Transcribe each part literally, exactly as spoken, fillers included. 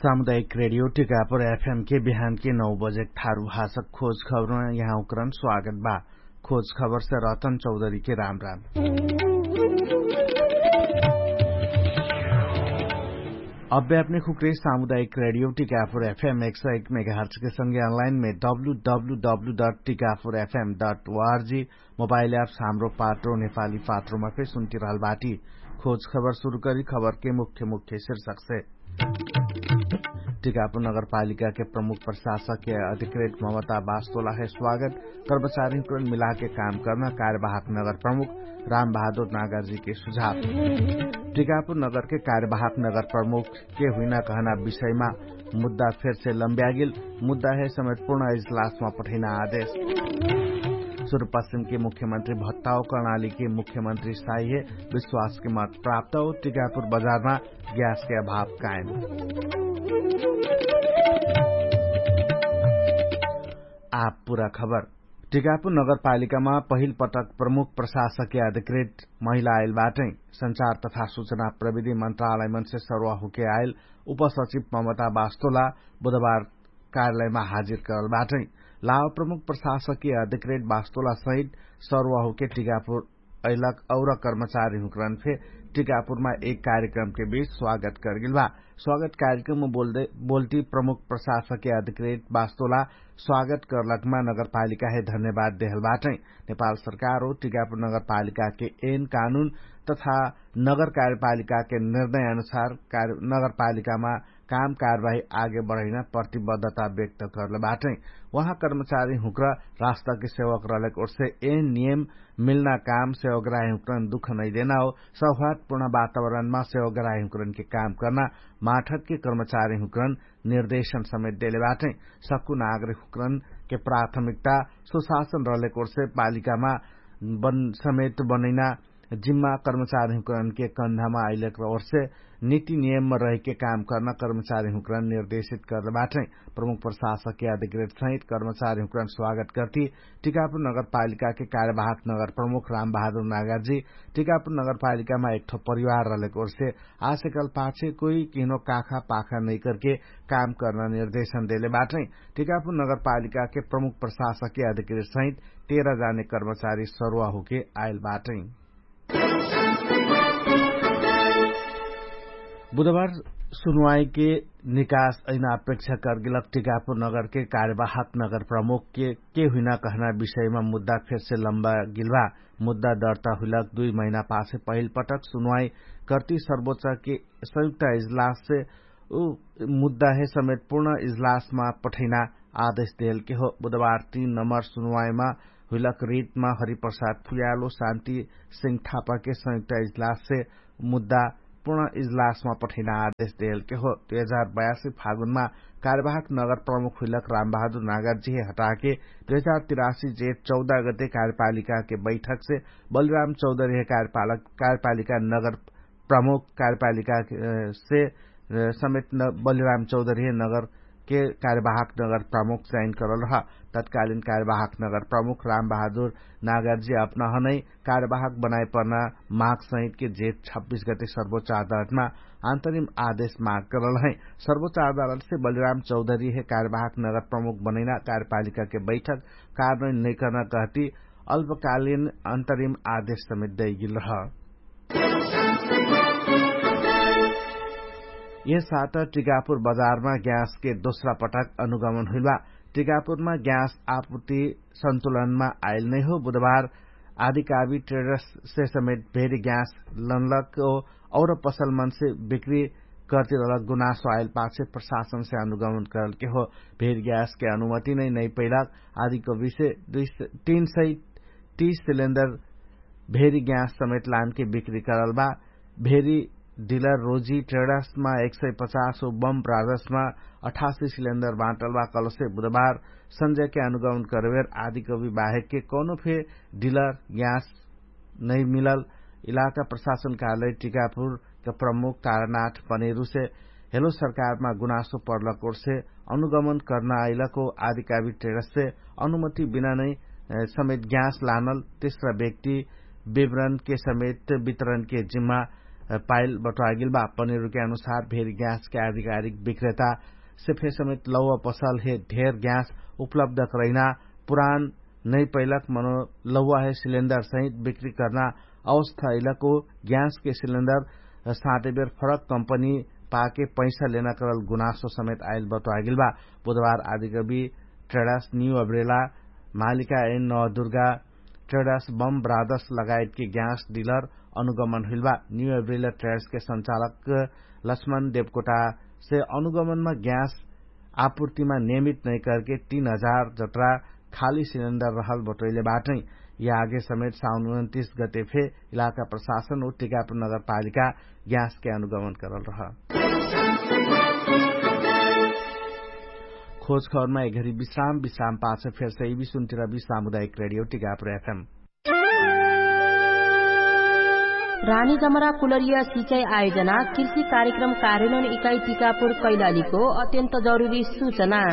सामुदायिक रेडियो टिकापुर एफएम के बिहान के नौ बजे थारु भाषक खोज खबरमा यहाँ उकरन स्वागत बा। खोज खबर से रतन चौधरी के राम राम। अब्बे अपने खुकरे सामुदायिक रेडियो टिकापुर एफएम एक सौ एक मेगाहर्च के संगे अनलाइन में W W W dot Tikapur FM dot ORG mobile apps Hamro Patro नेपाली पात्रोमा फे सुन्ति रहल बाटी। खोज खबर सुरु करी खबर के मुख्य मुख्य शीर्षक से। टिकापुर नगरपालिका के प्रमुख प्रशासक के अधिकृत ममता बास्तोला है स्वागत। कर्मचारी हुकरन मिला के काम कर्ना कार्यवाहक नगर प्रमुख राम बहादुर नागरजी के सुझाव। टिकापुर नगर के कार्यवाहक नगर प्रमुख के हुइना कहना विषयमा मुद्दा फेर से लम्ब्यागिल। मुद्दा है समेत पूर्ण इजलासमा पठैना आदेश। सुरु पश्चिम के मुख्यमन्त्री भत्ताओ कर्णाली के मुख्यमन्त्री साइहे विश्वास के मत प्राप्त हो। टिकापुर बजारमा ग्यास के अभाव कायम। आप पुरा खबर। टिकापुर नगरपालिकामा पहिल पटक प्रमुख प्रशासकीय अधिकृत महिला आइल बाटै। संचार तथा सुचना प्रविधि मन्त्रालयमन से सरुवा हुके आइल उपसचिव ममता बास्तोला बुधबार कार्यालयमा हाजिर करल बाटै। लाव प्रमुख प्रशासकीय अधिकृत बास्तोला सहित सरुवा हुके टिकापुर अइलक और कर्मचारी हुकरन फे टिकापुरमा एक कार्यक्रम के बीच स्वागत करगेल बा। स्वागत कार्यक्रम बोल्टी प्रमुख प्रशासकीय अधिकृत बास्तोला स्वागत करलकमा नगरपालिका है धन्यवाद देहल बाटै। नेपाल सरकार हो टिकापुर नगरपालिका के एन कानुन तथा नगर कार्यपालिका के निर्णय अनुसार नगरपालिकामा काम कारवाही आगे बढैना प्रतिबद्धता व्यक्त करले बाटै। उहाँ कर्मचारी हुक्र रास्ता के सेवक रहलेक ओर्से एन नियम मिल्ना काम सेवक राही हुक्रन दुख नैदेना हो। सौहार्दपूर्ण वातावरणमा सेवक राही हुक्रन के काम कर्ना माठक के कर्मचारी हुक्रन निर्देशन समेत देले बाटै। सक्कु नागरिक हुक्रन के प्राथमिकता सुशासन रहलेक ओर्से पालिकामा समेत बनैना जिम्मा कर्मचारी हुक्रन के कन्धामा आइलेक ओर्से निति नियममा रहिके काम कर्ना कर्मचारी हुक्रन निर्देशित करले बाटै। प्रमुख प्रशासक के अधिकृत सहित कर्मचारी हुक्रन स्वागत कर्ती टिकापुर नगरपालिका के कार्यवाहक नगर प्रमुख राम बहादुर नागरजी टिकापुर नगरपालिकामा एकठो परिवार रहलेक ओर्से आसेकल पाछे कोही किहनो काखा पाखा नैकरके काम कर्ना निर्देशन देले बाटै। टिकापुर नगरपालिका के प्रमुख प्रशासक के अधिकृत सहित तेह्र जाने कर्मचारी सरुवा हुके आइल बाटै। बुधबार सुनुवाई के निकास अहिना अपेक्षा करगेलक टिकापुर नगर के कार्यवाहक नगर प्रमुख के के हुइना कहना विषयमा मुद्दा फेर से लम्बा गिल्वा। मुद्दा दर्ता हुइलक दुई महिना पाछे पहिल पटक सुनुवाई कर्ती सर्वोच्च के संयुक्त इजलास से उ मुद्दा हे समेत पूर्ण इजलासमा पठैना आदेश देलके हो। बुधबार तीन नम्बर सुनुवाइमा हुइलक रितमा हरिप्रसाद फुयालो शान्ति सिंह थापाके संयुक्त इजलाससे मुद्दा पूर्ण इजलासमा पठैना आदेश देलके हो। दुई हजार बयासी फागुनमा कार्यवाहक नगर प्रमुख हुइलक रामबहादुर नागरजिहे हटाके दुई हजार तिरासी जेठ चौध गते कार्यपालिकाके बैठकसे बलिराम चौधरिहे कार्यपालिका नगर प्रमुख कार्यपालिकासे समेत बलिराम चौधरिहे नगरके कार्यवाहक नगर प्रमुख चयन करल रह। तत्कालिन कार्यवाहक नगर प्रमुख रामबहादुर नागरजी अपनहनै कार्यवाहक बनाइपर्ना माग सहितके जेठ छब्बिस गते सर्वोच्च अदालतमा अन्तरिम आदेश माग करल है। सर्वोच्च अदालतसे बलिराम चौधरिहे कार्यवाहक नगर प्रमुख बनैना कार्यपालिकाके बैठक कारणैन नैकर्ना कहती अल्पकालिन अन्तरिम आदेश समेत दैगिल रह। यह साथ टिकापुर बजारमा ग्याँसके दोस्रा पटक अनुगमन हुइलबा। टिकापुरमा ग्याँस आपुति सन्तुलनमा आइल नैहो बुधबार आधिकावी ट्रेडर्ससे समेत भेरी ग्याँस लनलक और पसलमनसे बिक्री कर्तिरलक गुनासो आइल पाछे प्रशासनसे अनुगमन करलके हो। भेरी ग्याँसके अनुमति नै नैपैलक आधिकविसे तीन सय तीस सिलेन्डर भेरी ग्याँस समेत लानके बिक्री करल बा। भेरी डिलर रोजी ट्रेडर्समा एक सय पचास हो बम ब्रादर्समा अठासी सिलेन्डर बाँटल बा। कलसे बुधबार सन्जयके अनुगमन करवेर आधिकवि बाहेकके कौनो फे डिलर ग्याँस नैमिलल इलाका प्रशासन कार्यालय टिकापुरका प्रमुख तारानाथ पनेरुसे हेलो सरकारमा गुनासो पर्लक ओर्से अनुगमन कर्ना आइलक हो। आधिकावी ट्रेडर्ससे अनुमति बिना नै समेत ग्याँस लानल तेस्रा व्यक्ति विवरणके समेत वितरणके जिम्मा पाइल बटुवागेल बा। पनिरुके अनुसार भेरी ग्याँसके आधिकारिक विक्रेता से फेर समेत लौवा पसल हे ढेर ग्याँस उपलब्ध करैना पुरान नै पैलक मनो लौवा हे सिलेन्डर सहित बिक्री कर्ना अवस्था अइलको ग्याँसके सिलेन्डर साँटेबेर फरक कम्पनी पाके पैसा लेना करल गुनासो समेत आइल बटुवागेल बा। बुधबार आदिकवि ट्रेडास न्यू अब्रेला मालिका एन नवदुर्गा ट्रेडास बम ब्रादस लगायतके ग्याँस डिलर अनुगमन हुइल बा। न्यू अब्रेला ट्रेडासके सञ्चालक लक्ष्मण देवकोटा से अनुगमनमा ग्याँस आपुर्तिमा नियमित नैकरके तीन हजार जत्रा खाली सिलेन्डर रहल बटोइले बाटै। या आगे समेत साउन उनन्तिस गते फे इलाका प्रशासन उ टिकापुर नगरपालिका ग्याँसके अनुगमन करल रह। खोज खबरमा एघरी विश्राम विश्राम पाछ फेर सही विसुन्तिरबी सामुदायिक रेडियो टिकापुर एफएम। रानी जमरा कुलरिया सिचाई आयोजना कृषि कार्यक्रम कार्यनोन इकाई टिकापुर कैलालीको अत्यन्त जरुरी सुचना।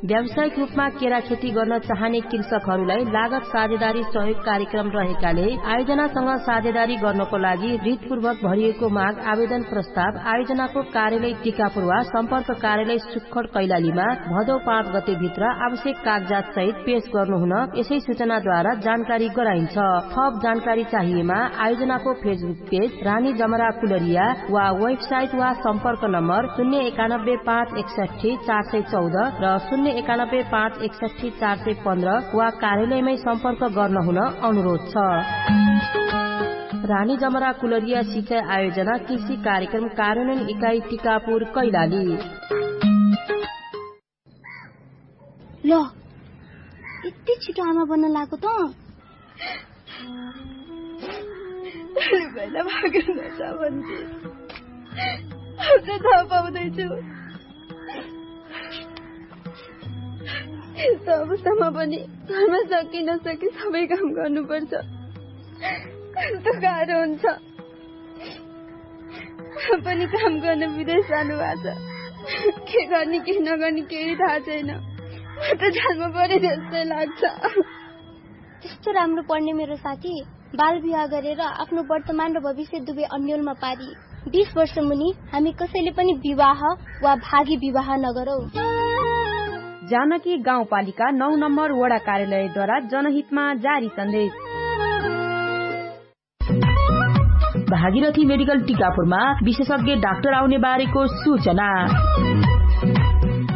व्यावसायिक रूपमा केरा खेती गर्न चाहने कृषकहरूलाई लागत साझेदारी सहयोग कार्यक्रम रहेकाले आयोजनासँग साझेदारी गर्नको लागि रितपूर्वक भरिएको माग आवेदन प्रस्ताव आयोजनाको कार्यालय टिकापुर वा सम्पर्क कार्यालय सुक्खड कैलालीमा भदौ पाँच गते भित्र आवश्यक कागजात सहित पेश गर्नुहुन यसै सुचनाद्वारा जानकारी गराइन्छ। थप जानकारी चाहिएमा आयोजनाको फेसबुक पेज रानी जमरा कुलरिया वा वेबसाइट वा सम्पर्क नम्बर शून्य एकानब्बे पाँच एकसठी चार सय चौध र शून्य एकानब्बे पाँच एकसठी चार सय पन्ध्र वा कार्यालयमै सम्पर्क गर्नुहुन अनुरोध छ। रानी जमरा कुलरिया सिकाइ आयोजना कृषि कार्यक्रम कार्यान्वयन इकाइ टिकापुर कैलाली। ल, यति छिटो आमा बन्न लागो त? भोलि पहिला भाग्यो नछ भन्थे। अब त थाहा पाउँदैछु। यस्तो अवस्थामा पनि घरमा सके नसके सबै काम गर्नुपर्छ। कस्तो गाह्रो हुन्छ। पनि काम गर्न विदेश जानुभएको छ। के गर्ने के नगर्ने केही थाहा छैन। म त जानमा परे जस्तै लाग्छ। त्यस्तो राम्रो पढ्ने मेरो साथी बाल विवाह गरेर आफ्नो वर्तमान र भविष्य दुवै अन्योलमा पारी। बिस वर्ष मुनि हामी कसैले पनि विवाह वा भागी विवाह नगरौँ। जानकी गाउँपालिका नौ नम्बर वडा कार्यालयद्वारा जनहितमा जारी सन्देश। भागीरथी मेडिकल टिकापुरमा विशेषज्ञ डाक्टर आउने बारेको सूचना।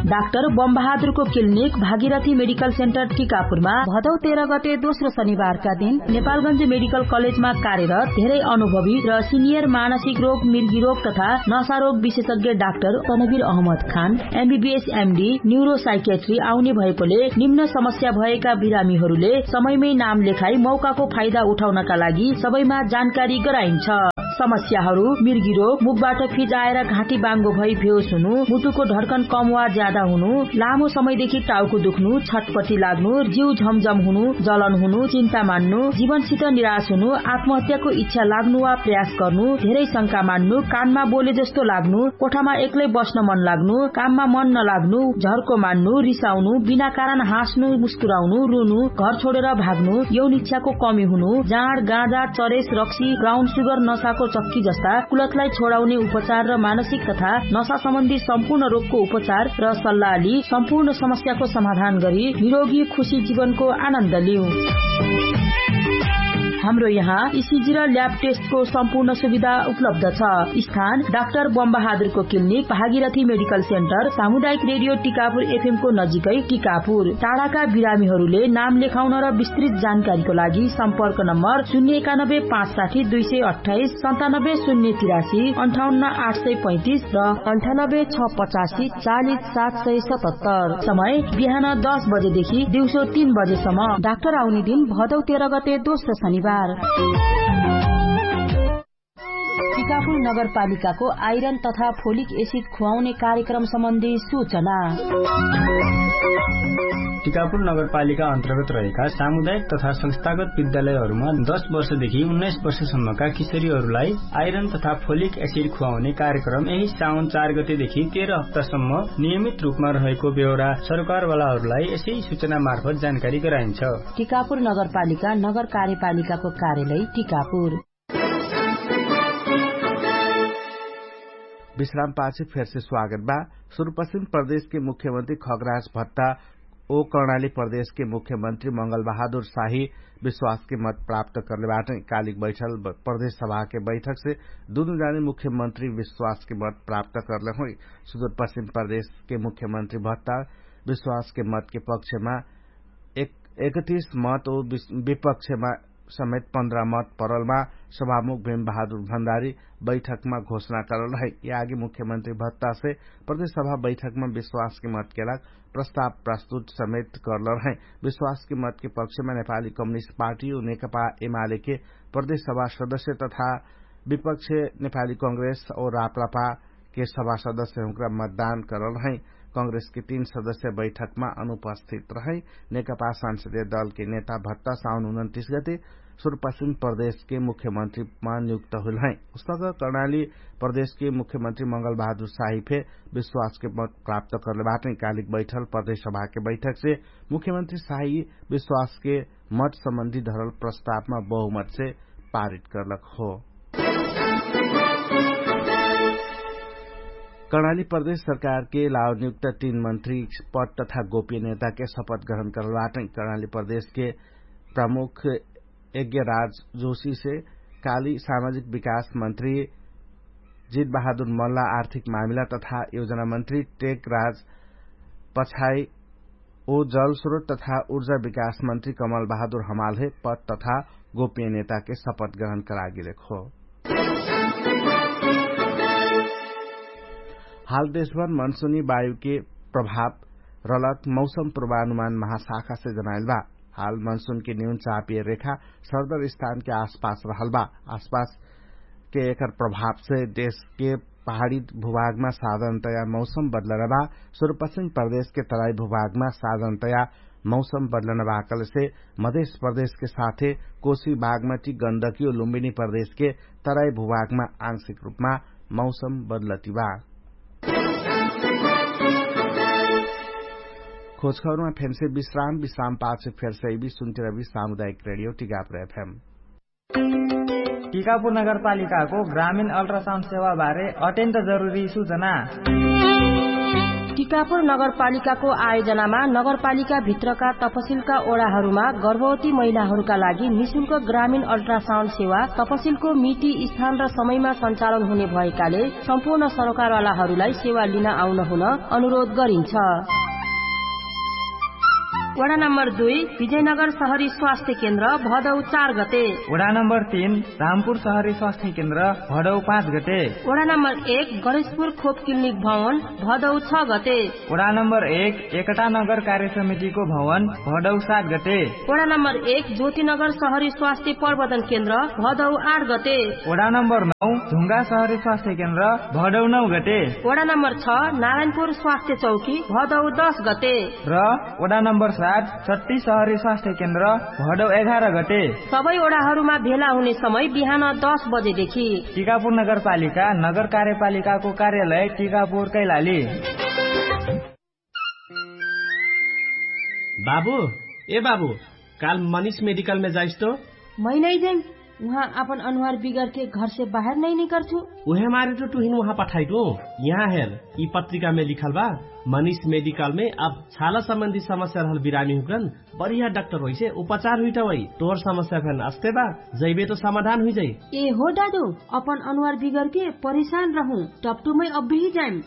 डाक्टर बमबहादुरको क्लिनिक भागीरथी मेडिकल सेन्टर टिकापुरमा भदौ तेह्र गते दोस्रो शनिबारका दिन नेपालगञ्ज मेडिकल कलेजमा कार्यरत धेरै अनुभवी र सिनियर मानसिक रोग, मिर्गी रोग तथा नशा रोग विशेषज्ञ डाक्टर तनवीर अहमद खान एमबीबीएस एमडी न्युरोसाइकेट्री आउने भएकोले निम्न समस्या भएका बिरामीहरूले समयमै नाम लेखाई मौकाको फाइदा उठाउनका लागि सबैमा जानकारी गराइन्छ। समस्याहरू मिर्गी रोग, मुखबाट फिजाएर घाँटी बाङ्गो भई बेहोस हुनु, मुटुको ढड्कन कम वा ज्यादा हुनु, लामो समयदेखि टाउको दुख्नु, छटपटी लाग्नु, जिउ झमझम हुनु, जलन हुनु, चिन्ता मान्नु, जीवनसित निराश हुनु, आत्महत्याको इच्छा लाग्नु वा प्रयास गर्नु, धेरै शंका मान्नु, कानमा बोले जस्तो लाग्नु, कोठामा एक्लै बस्न मन लाग्नु, काममा मन नलाग्नु, झर्को मान्नु, रिसाउनु, बिना कारण हाँस्नु, मुस्कुराउनु, रुनु, घर छोडेर भाग्नु, यौन इच्छाको कमी हुनु, जाँड, गाँजा, चरेस, रक्सी, ब्राउन सुगर, नसाको चक्की जस्ता कुलतलाई छोडाउने उपचार र मानसिक तथा नसा सम्बन्धी सम्पूर्ण रोगको उपचार र सल्लाह लि सम्पूर्ण समस्याको समाधान गरी निरोगी खुशी जीवनको आनन्द लिउ। हाम्रो यहाँ इसिजी र ल्याब टेस्टको सम्पूर्ण सुविधा उपलब्ध छ। स्थान डाक्टर बमबहादुरको क्लिनिक, भागीरथी मेडिकल सेन्टर, सामुदायिक रेडियो टिकापुर एफएमको नजिकै टिकापुर। टाढाका बिरामीहरूले नाम लेखाउन र विस्तृत जानकारीको लागि सम्पर्क नम्बर शून्य एकानब्बे पाँच साठी दुई सय अट्ठाइस, सन्तानब्बे शून्य तिरासी, अन्ठाउन्न आठ सय पैँतिस र अन्ठानब्बे छ पचासी चालिस सात सय सतहत्तर। समय बिहान दस बजेदेखि दिउँसो तीन बजेसम्म। डाक्टर आउने दिन भदौ तेह्र गते दोस्रो शनिबार। टिकापुर नगरपालिकाको आइरन तथा फोलिक एसिड खुवाउने कार्यक्रम सम्बन्धी सूचना। टिकापुर नगरपालिका अन्तर्गत रहेका सामुदायिक तथा संस्थागत विद्यालयहरूमा दश वर्षदेखि उन्नाइस वर्षसम्मका किशोरीहरूलाई आइरन तथा फोलिक एसिड खुवाउने कार्यक्रम यही साउन चार गतेदेखि तेह्र हप्तासम्म नियमित रूपमा रहेको बेहोरा सरकारवालाहरूलाई यसै सूचना मार्फत जानकारी गराइन्छ। टिकापुर नगरपालिका नगर कार्यपालिकाको कार्यालय टिकापुर। विश्राम पाछे फेरसे स्वागत बा। सुरुपश्चिम प्रदेशके मुख्यमन्त्री खगराज भत्ता ओ कर्णाली प्रदेशके मुख्यमन्त्री मंगल बहादुर साही विश्वासके मत प्राप्त करले बाटै। कालिक बैठल प्रदेश सभाके बैठकसे दुनु जाने मुख्यमन्त्री विश्वासके मत प्राप्त करले होइ। सुरुपश्चिम प्रदेशके मुख्यमन्त्री भत्ता विश्वासके मतके पक्षमा एकतीस मत ओ विपक्षमा समेत पन्ध्र मत परलमा सभामुख भीम बहादुर भण्डारी बैठकमा घोषणा करल है। यागी मुख्यमन्त्री भत्तासे प्रदेश सभा बैठकमा विश्वासके मतके लाग प्रस्ताव प्रस्तुत समेत करल है। विश्वासके मतके पक्षमा नेपाली कम्युनिस्ट पार्टी ओ नेकपा एमालेके प्रदेश सभा सदस्य तथा विपक्ष नेपाली कंग्रेस ओ राप्रापा के सभा सदस्य हुँक्रा मतदान करल रहै। कंग्रेसके तीन सदस्य बैठकमा अनुपस्थित रहै। नेकपा संसदीय दलके नेता भत्ता साउन उनन्तिस गते सुरुपश्चिम प्रदेशके मुख्यमन्त्रीमा नियुक्त हुइल है। उसक कर्णाली प्रदेशके मुख्यमन्त्री मंगल बहादुर साही फे विश्वासके मत प्राप्त करले बाटै। कालिक बैठल प्रदेश सभाके बैठकसे मुख्यमन्त्री साही विश्वासके मत सम्बन्धी धरल प्रस्तावमा बहुमतसे पारित करलक हो। कर्णाली प्रदेश सरकारके लावनियुक्त तीन मन्त्री पद तथा गोपीय नेताके शपथ ग्रहण करल बाटै। कर्णाली प्रदेशके प्रमुख यज्ञराज जोशीसे काली सामाजिक विकास मन्त्री जित बहादुर मल्ला आर्थिक मामिला तथा योजना मन्त्री टेक राज पछाइ ओ जलस्रोत तथा उर्जा विकास मन्त्री कमल बहादुर हमालहे पद तथा गोपीय नेताके शपथ ग्रहण करागिलेक हो। हाल देशभर मनसुनी वायुके प्रभाव रलक मौसम प्रवानुमान महाशाखासे जनाइल बा। हाल मनसुनके न्यून चापिय रेखा सरदर स्थानके आसपास रहल बा। आसपासके एकर प्रभावसे देशके पहाडी भूभागमा साधारणतया मौसम बदलना बा। सुरुपश्चिम प्रदेशके तराई भूभागमा साधारणतया मौसम बदलना बा कहलेसे मधेश प्रदेशके साथे कोशी बागमती गन्दकियो लुम्बिनी प्रदेशके तराई भूभागमा आंशिक रूपमा मौसम बदलति बा। खोजखबरमा फेन्से विश्राम विश्राम पाछ फेर्सैबी सुन्तिरबी सामुदायिक रेडियो टिगापुर एफएम। टिकापुर नगरपालिकाको ग्रामीण अल्ट्रासाउन्ड सेवाबारे अत्यन्त जरुरी सूचना। टिकापुर नगरपालिकाको आयोजनामा नगरपालिकाभित्रका तपसिलका ओडाहरूमा गर्भवती महिलाहरूका लागि निशुल्क ग्रामीण अल्ट्रासाउन्ड सेवा तपसिलको मिति स्थान र समयमा सञ्चालन हुने भएकाले सम्पूर्ण सरोकारवालाहरूलाई सेवा लिन आउन हुन अनुरोध गरिन्छ। वडा नम्बर दुई विजयनगर सहरी स्वास्थ्य केन्द्र भदौ चार गते। वडा नम्बर तीन रामपुर सहरी स्वास्थ्य केन्द्र भदौ पाँच गते। वडा नम्बर एक गणेशपुर खोप क्लिनिक भवन भदौ छ गते। वडा नम्बर एक एकटा नगर कार्य समितिको भवन भदौ सात गते। वडा नम्बर एक ज्योतिनगर सहरी स्वास्थ्य प्रवर्धन केन्द्र भदौ आठ गते। वडा नम्बर नौ ढुङ्गा सहरी स्वास्थ्य केन्द्र भदौ नौ गते। वडा नम्बर छ नारायणपुर स्वास्थ्य चौकी भदौ दस गते। र वडा नम्बर सात छत्तीस सहरी स्वास्थ्य केन्द्र भदौ एघार गते। सबै ओडाहरूमा भेला हुने समय बिहान दस बजेदेखि। टिकापुर नगरपालिका नगर कार्यपालिकाको कार्यालय टिकापुर कैलाली। बाबु, ए बाबु, काल मनिष मेडिकलमे जाइस तो। मै नै जाइम। उहाँ आपन अनुहार बिगरके घरसे बाहेर नै निकर्छु। उहे मारे तो टुहिन उहाँ पठाइटु। यहाँ हेर, यि पत्रिकामे लिखल बा, मनिष मेडिकलमे अब छाला सम्बन्धी समस्या रहल बिरामी हुकरन बढिया डाक्टर होइसे उपचार हुइटा वइ। तोर समस्या फेन अस्ते बा, जैबे तो समाधान हुइजाइ। ए हो दादु, अपन अनुहार बिगरके परेशान रहु। टपटुमै अब्बेही जाइम।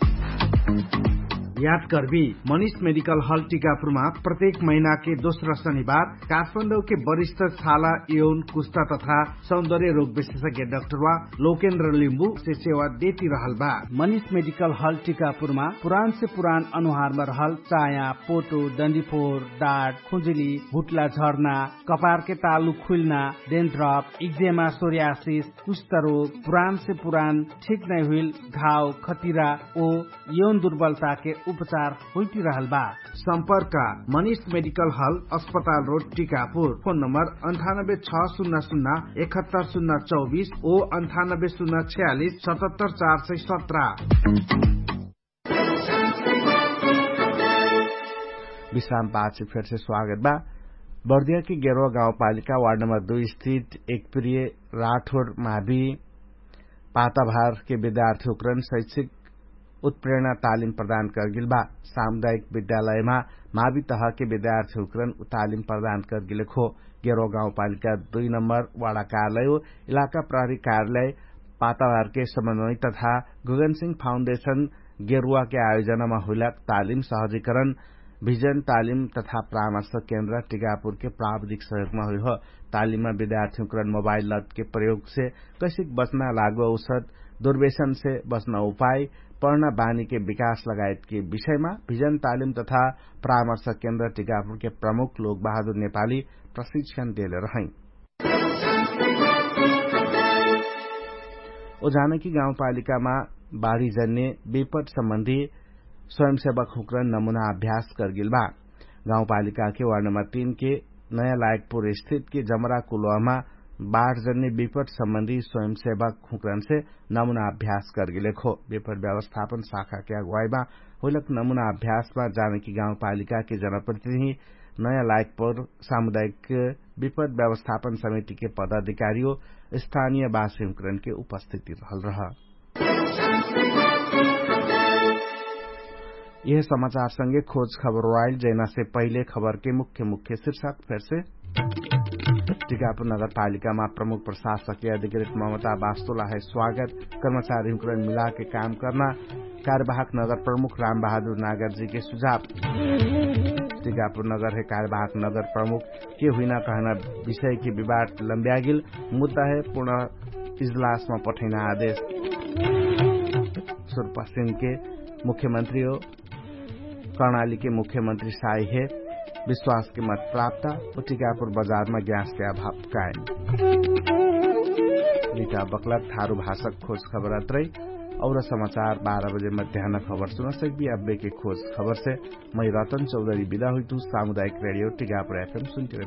याद कर्बी, मनिष मेडिकल हल टिकापुरमा प्रत्येक महिनाके दोस्रा शनिबार काठमाडौके वरिष्ठ छाला यौन कुस्ता तथा सौन्दर्य रोग विशेषज्ञ डाक्टर वा लोकेन्द्र लिम्बु से सेवा देति रहल बा। मनिष मेडिकल हल टिकापुरमा पुरान से पुरान अनुहारमा रहल चाया, पोटो, डन्डिफोर, डाट, खुजुली, भुट्ला झर्ना, कपारके तालु खुइल्ना, डेन्ड्रप, इक्जेमा, सोरियासिस, कुष्ठरोग, पुरान से पुरान ठिक नै हुइल घाव, खतिरा ओ यौन दुर्बलताके उपचार हुइपिरहल बा। सम्पर्क मनिष मेडिकल हल अस्पताल रोड टिकापुर। फोन नम्बर अन्ठानब्बे छ सुन्ना सुन्ना एकहत्तर सुन्ना चौबिस ओ अन्ठानब्बे सुन्ना छ्यालिस सतहत्तर चार सय सत्र। विश्राम पाछ फेरसे स्वागत बा। बर्दियाके गेरवा गाउँपालिका वार्ड नम्बर दुई स्थित एकप्रिय राठोर मावि पाताभारके विद्यार्थी हुक्रन शैक्षिक उत्प्रेरणा तालिम प्रदान करगेल बा। सामुदायिक विद्यालयमा मावि तहके विद्यार्थी हुक्रन तालिम प्रदान करगेल खो। गेरवा गाउँपालिका दुई नम्बर वाडा कार्यालय इलाका प्रहरी कार्यालय पाताभारके समन्वय तथा गुगनसिंह फाउन्डेशन गेरुवाके आयोजनामा हुइलाक तालिम सहजिकरण भिजन तालिम तथा परामर्श केन्द्र टिकापुरके प्राविधिक सहयोगमा हुइहो। तालिममा विद्यार्थी हुक्रन मोबाइल लतके प्रयोगसे कैसिक बच्ना लागु औषध दुर्वेशनसे बच्ना उपाय पढ्ना बानीके विकास लगायतके विषयमा भिजन तालिम तथा परामर्श केन्द्र टिकापुरके प्रमुख लोकबहादुर नेपाली प्रशिक्षण देले रहै। ओ जानकी गाउँपालिकामा बाढीजन्य विपट सम्बन्धी स्वयंसेवक हुक्रन नमुना अभ्यास करगेल बा। गाउँपालिकाके वार्ड नम्बर तीनके नयाँ लायकपुर स्थितके जमरा कुलोवामा बाढजन्य विपट सम्बन्धी स्वयंसेवक हुक्रनसे नमुना अभ्यास करगेल खो। विपट व्यवस्थापन शाखाके अगुवाइमा होइलक नमुना अभ्यासमा जानकी गाउँपालिकाके जनप्रतिनिधि नयाँ लायकपुर सामुदायिक विपट व्यवस्थापन समितिके पदाधिकारियो स्थानिय बासिहुक्रनके उपस्थिति रहल रह। यह समाचारसँगे खोज खबर वाइल जैनासे पहिले खबरके मुख्य मुख्य शिर्षक फेरसे। टिकापुर नगरपालिकामा प्रमुख प्रशासकके अधिकृत ममता बास्तोलाहे स्वागत। कर्मचारीहुक्रन मिलाके काम कर्ना कार्यवाहक नगर प्रमुख रामबहादुर नागरजीके सुझाव। टिकापुर नगरहे कार्यवाहक नगर प्रमुख के हुइना कहना विषयके विवाद लम्ब्यागिल मुद्दाहे पूर्ण इजलासमा पठैना आदेश। सुरपश्चिमके मुख्यमन्त्री हो कर्णालीके मुख्यमन्त्री साइहे विश्वासके मत प्राप्त हो। टिकापुर बजारमा ग्यासके अभाव कायम। रिटा बक्लक थारु भाषक खोज खबर अत्रै। और समाचार बाह्र बजे मध्यान खबर सुनसक्बी अब्बेके खोज खबरसे मै रतन चौधरी बिदा हुइतु। सामुदायिक रेडियो टिकापुर एफएम सुन्तिरबी।